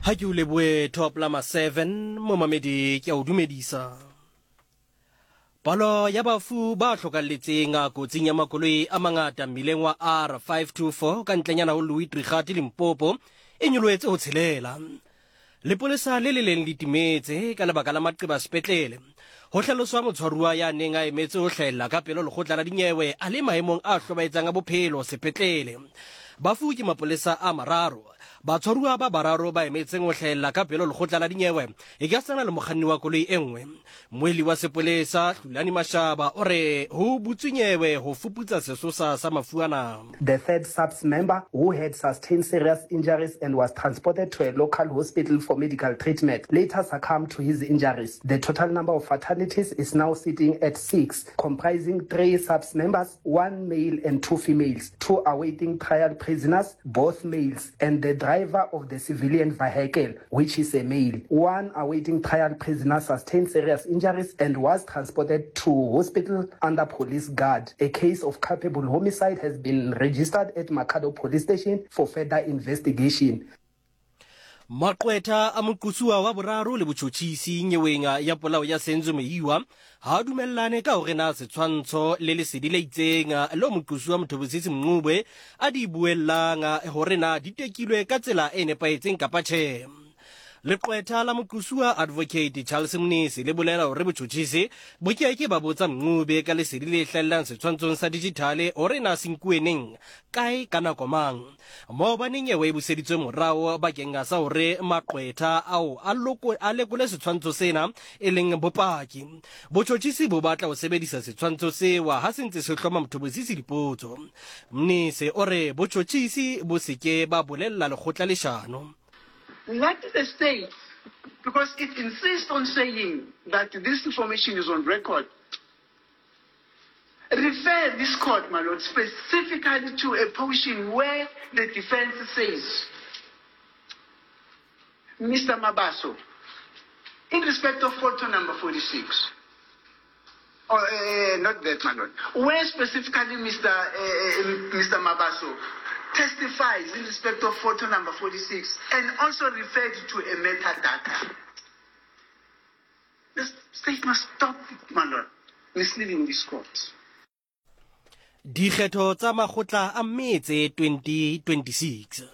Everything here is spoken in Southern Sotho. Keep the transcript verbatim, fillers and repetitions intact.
Ha ke o lebohe top lama seven momamedi ke a o dumedisa. Palo ya bafu ba hlokalletseng kotsing ya makoloi a mangata mmileng wa R five two four ka ntlenyana ho Louis Trichardt Limpopo e nyolohetse ho tshelela. Lepolesa le le leng le timetse ka lebaka la maqeba sepetlele. Ho hlaloswa motshwaruwa ya neng a emetse ho hlahella ka pele lekgotla la dinyewe a le maemong a hlobaetsang a bophelo sepetlele. Bafu ke mapolesa a mararo. Batshwaruwa ba bararo ba emetseng ho hlahella ka pele lekgotla la dinyewe e ka sana le mokganni wa koloi e nngwe. Moeli wa sepolesa Hlulani Mashaba o re ho butswe nyewe ho fuputsa sesosa sa mafu ana. The third SAPS member, who had sustained serious injuries and was transported to a local hospital for medical treatment, later succumbed to his injuries. The total number of fatalities is now sitting at six, comprising three SAPS members, one male and two females, two awaiting trial prisoners, both males, and the driver of the civilian vehicle, which is a male. One awaiting trial prisoner sustained serious injuries and was transported to hospital under police guard. A case of culpable homicide has been registered at Makhado Police Station for further investigation. Maqwetha a moqosuwa wa boraro le botjhotjhisi nyeweng ya polao ya Senzo Meyiwa ha dumellane ka hore na setshwantsho le lesedi le itseng lo moqosuwa Mthobosisi Mncube a di buellang hore na di tekilwe ka tsela e nepahetseng kapa tjhe. Leqwetha la moqosuwa Advocate Charles Mnisi le bolela hore botjhotjhisi bo ke ke ba botsa Mncube ka lesedi le hlahellang setshwantshong sa digital hore na se nkuwe neng, kae, ka nako mang. Maobane nyewe e buseditswe morao bakeng sa hore maqwetha ao a loko a lekole setshwantsho sena e leng bopaki. Botjhotjhisi bo batla ho sebedisa setshwantsho sewa ha se ntse se hloma Mthobosisi dipotso. Mnisi o re botjhotjhisi bo se ke ba bolella lekgotla leshano. Let the state, because it insists on saying that this information is on record, refer this court, my lord, specifically to a portion where the defense says, Mister Mabaso, in respect of photo number forty-six, or uh, not that, my lord, where specifically Mister Uh, Mister Mabaso testifies in respect of photo number forty-six and also referred to a metadata. The state must stop, my lord, misleading this court. Dikgetho tsa makgotla a metse twenty twenty-six.